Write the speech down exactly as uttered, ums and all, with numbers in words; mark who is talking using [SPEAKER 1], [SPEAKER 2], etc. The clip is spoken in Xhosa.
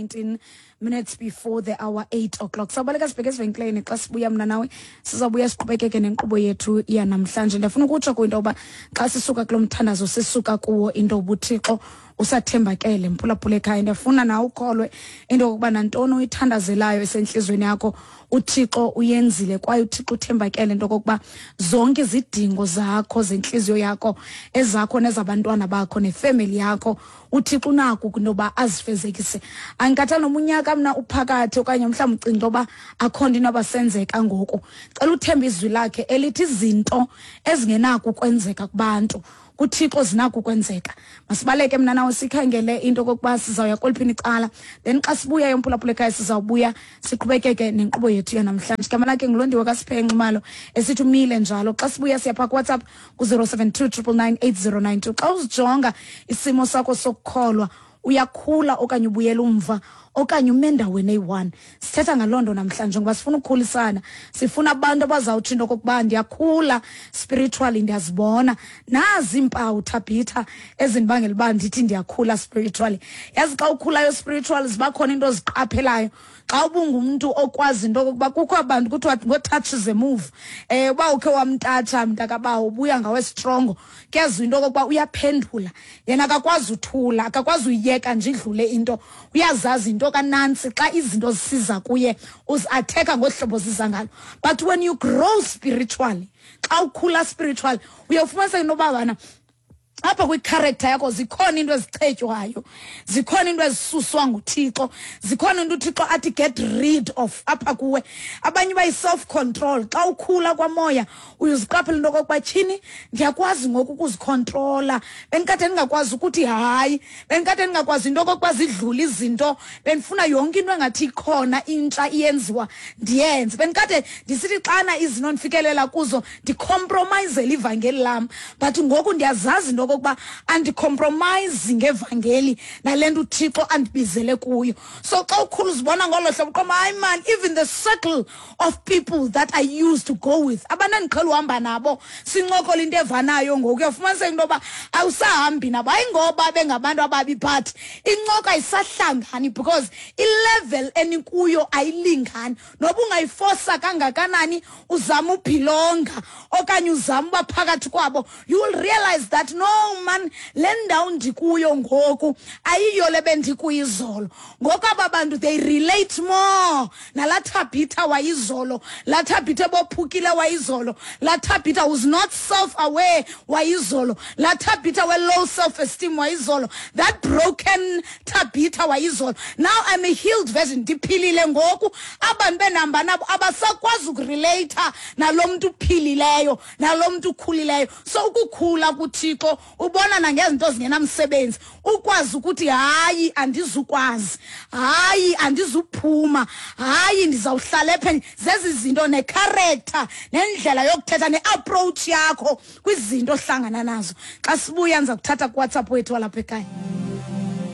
[SPEAKER 1] nineteen minutes before the hour eight o'clock. Sawubaleka sibheke ezivenkileni. Xa sibuya, mna nawe sizawubuya siqhubekeke nenkqubo yethu yanamhlanje. Ndiyafuna ukutsho kwinto yoba xa sisuka kulo mthandazo sisuka kuwo, into yoba uThixo usathembakele. Mphulaphula ekhaya, ndiyafuna nawe ukholwe into yokuba nantoni uyithandazelayo esentliziyweni yakho, uThixo uyenzile, kwaye uThixo uthembakele into okokuba zonke izidingo zakho zentliziyo yakho, ezakho nezabantwana bakho nefemeli yakho, uThixo unako kwintoba azifezekise. Andikhathali noma unyaka mna uphakathi okanye mhlawumbi ucinga into yoba akho nto inoba senzeka ngoku. Cela uthembe izwi lakhe elithi izinto ezingenako ukwenzeka kubantu, kuThixo zinako ukwenzeka. Masibaleke mna nawe sikhangele into okokuba sizawuya kweliphini icala, then xa sibuya, mphulaphula ekhaya, sizawubuya siqhubekeke nenkqubo yethu yanamhlanje. Igama lakhe nguLondiwe kaSiphe Nxumalo, esithi umile njalo. Xa sibuya siyapha kuWhatsApp ku-zero seven two triple nine eight zero nine two. Xa uzijonga isimo sakho sokukholwa, uyakhula okanye ubuyela umva okanye ume endaweni eyi-one? Sithetha ngaloo nto namhlanje ngoba sifuna ukukhulisana. Sifuna abantu abazawutsho into okokuba ndiyakhula spiritually, ndiyazibona nazi iimpawu, Thabitha, ezindibangela uba ndithi ndiyakhula spiritually. Yazi, xa ukhulayo spiritually, ziba khona into oziqaphelayo. Xa ubungumntu okwazi into okokuba kukho abantu kuthiwa ngoo-touch the move, um uba ukhe wamtatsha mntakabawo, ubuya ngawe strongo. Kuyaziwa into okokuba uyaphendula yena, akakwazi uthula, akakwazi uyiyeka nje idlule into. Uyazazi into kanantsi, xa izinto zisiza kuye uzi-atheka ngohlobo ziza ngalo. But when you grow spiritually, xa ukhula spiritually, uyawufumaniseka into yoba bana apha kwi-character yakho zikhona into ezichetywayo, zikhona into ezisuswa nguThixo, zikhona into uThixo athi get rid of apha kuwe. Abanye bayi-self control. Xa ukhula kwamoya uyoziqaphela into okokuba tyhini, ndiyakwazi ngoku ukuzikhontrola, bendikade ndingakwazi ukuthi hayi, bendikade ndingakwazi into okokuba zidlule izinto, bendifuna yonke into engathi ikhona intsha iyenziwa ndiyenze, bendikade ndisithi xana izinto ndifikelela kuzo ndicompromisele ivangeli lam, but ngoku ndiyazazi into okokuba andicompromise ngevangeli nale nto uThixo andibizele kuyo. So xa ukhula uzibona ngolo hlobo, uqoma, hayi man, even the circle of people that I used to go with, abantu endiqhela uhamba nabo sincokola into evanayo, ngoku uyafumaniseka into yoba awusahambi nabo. Hayi ngoba bengabantu ababi, but incoko ayisahlangani because ilevel enikuyo ayilingani. Noba ungayifosa kangakanani uzama ubelonga okanye uzama uba phakathi kwabo, you will realize that no man, le ndawo ndikuyo ngoku ayiyo le bendikuyo izolo. Ngoku aba bantu, they relate more nalaa Thabitha wayizolo, laa Thabitha ebophukile wayizolo, laa Thabitha was not self aware wayizolo, laa Thabitha we-low self esteem wayizolo, that broken Thabitha wayizolo. Now I'm a healed version, ndiphilile ngoku. Abantu benihamba nabo abasakwazi ukurelata nalo mntu uphilileyo, nalo mntu ukhulileyo. So ukukhula kuThixo ubona nangezinto ezingenamsebenzi, ukwazi ukuthi hayi, andizukwazi, hayi, andizuphuma, hayi, ndizawuhlala epha. Zezi zinto necharacter nendlela yokuthetha ne-approach yakho kwizinto ohlangana nazo. Xa sibuya ndiza kuthatha kuWhatsApp wethu walapha ekhaya.